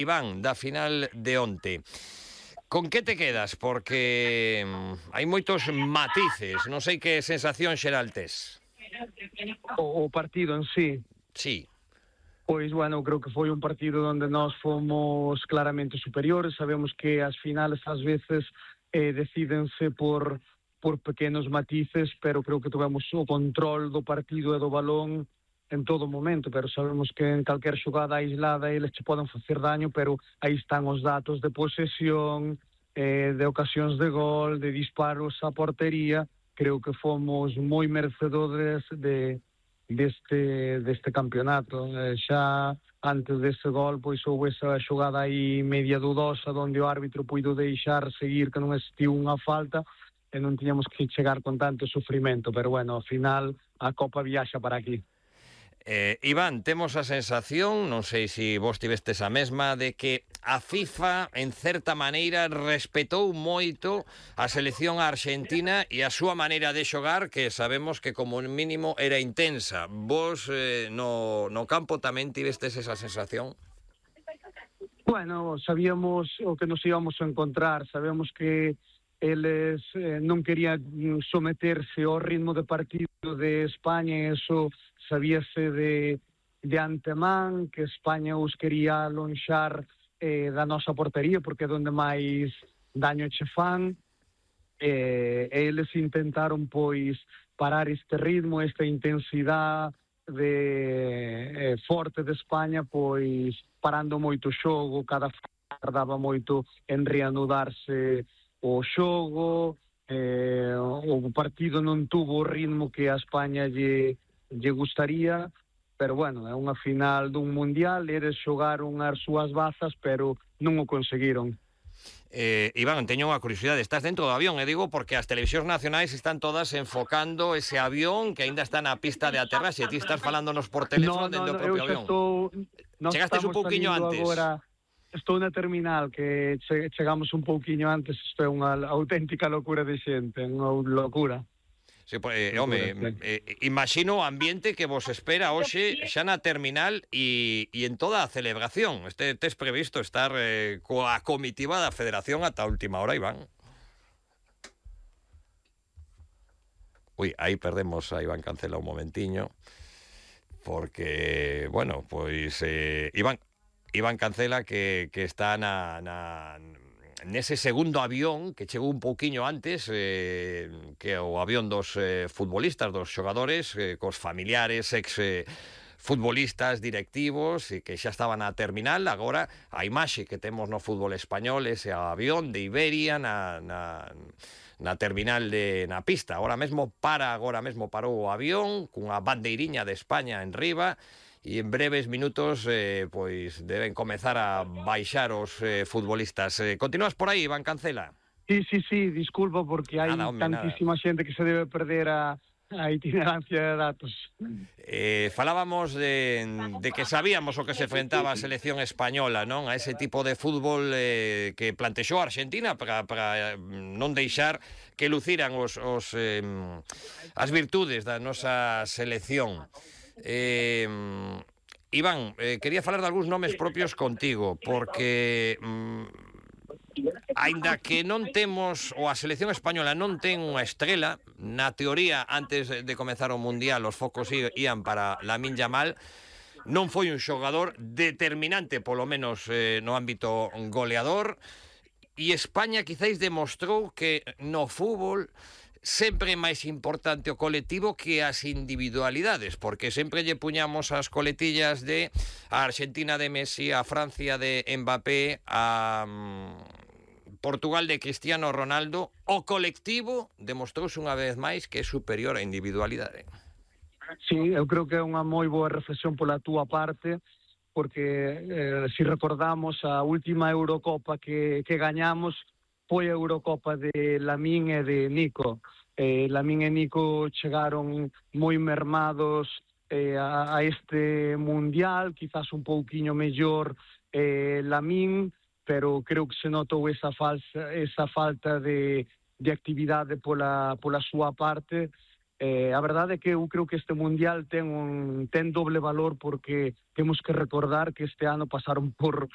Iván, da final de onte. Con que te quedas? Porque hai moitos matices. Non sei que sensación xeral tes. O partido en sí, Sí. pois, bueno, creo que foi un partido onde nós fomos claramente superiores. Sabemos que as finales ás veces decídense por pequenos matices, pero creo que tivemos o control do partido e do balón en todo momento, pero sabemos que en calquer xogada aislada eles che poden facer daño, pero aí están os datos de posesión, de ocasións de gol, de disparos á portería. Creo que fomos moi merecedores deste campeonato. Xa antes dese gol, pois houve esa xogada aí media dudosa onde o árbitro puido deixar seguir, que non existiu unha falta e non tiñamos que chegar con tanto sufrimento, pero bueno, ao final a Copa viaxa para aquí. Iván, temos a sensación, non sei se vos tivestes a mesma, de que a FIFA, en certa maneira, respetou moito a selección arxentina e a súa maneira de xogar, que sabemos que como mínimo era intensa. Vos no campo tamén tivestes esa sensación? Bueno, sabíamos o que nos íbamos a encontrar, sabemos que eles non querían someterse ao ritmo de partido de España, e eso sabíase de antemán, que España os quería lonxar da nosa portería, porque é onde máis daño che fan, e eles intentaron, pois, parar este ritmo, esta intensidade forte de España, pois, parando moito o xogo, cada tardaba moito en reanudarse o xogo, o partido non tuvo o ritmo que a España lle gustaría, pero bueno, é unha final dun mundial, eles xogaron as súas bazas, pero non o conseguiron. Iván, teño unha curiosidade, estás dentro do avión, digo, porque as televisións nacionais están todas enfocando ese avión que aínda está na pista de aterraxe, e ti estás falándonos por teléfono dentro do propio avión. Chegastes un pouquiño antes. Agora, estou na terminal, que chegamos un pouquiño antes. Isto é unha auténtica locura de xente, unha locura. Sí, imagino o ambiente que vos espera hoxe xa na terminal e en toda a celebración. Tes previsto estar coa comitiva da Federación ata a última hora, Iván? Ui, aí perdemos a Iván Cancela un momentiño, porque, bueno, pois Iván Cancela que está nese segundo avión que chegou un pouquiño antes que o avión dos futbolistas, dos xogadores, cos familiares, futbolistas, directivos, e que xa estaban a terminal. Agora a imaxe que temos no fútbol español, ese avión de Iberia na terminal na pista. Agora mesmo parou o avión cunha bandeiriña de España en riba, e en breves minutos pois deben comezar a baixar os futbolistas. Continúas por aí, Iván Cancela? Sí, disculpa, porque hai tantísima xente que se debe perder a itinerancia de datos. Falábamos de que sabíamos o que se enfrentaba a selección española, non? A ese tipo de fútbol que plantexou a Argentina para non deixar que luciran as virtudes da nosa selección. Iván, quería falar de algúns nomes propios contigo, porque aínda que non temos, ou a selección española non ten unha estrela, na teoría, antes de comezar o Mundial, os focos ían para Lamine Yamal, non foi un xogador determinante, polo menos no ámbito goleador, e España quizáis demostrou que no fútbol sempre é máis importante o colectivo que as individualidades, porque sempre lle puñamos as coletillas de a Argentina de Messi, a Francia de Mbappé, a Portugal de Cristiano Ronaldo. O colectivo demostrouse unha vez máis que é superior á individualidade. Sí, eu creo que é unha moi boa reflexión pola túa parte, porque se recordamos a última Eurocopa que gañamos foi a Eurocopa de Lamine e de Nico. Lamine e Nico chegaron moi mermados a este Mundial, quizás un pouquiño mellor Lamine, pero creo que se notou esa falta de actividade pola súa parte, A verdade é que eu creo que este Mundial ten doble valor porque temos que recordar que este ano pasaron por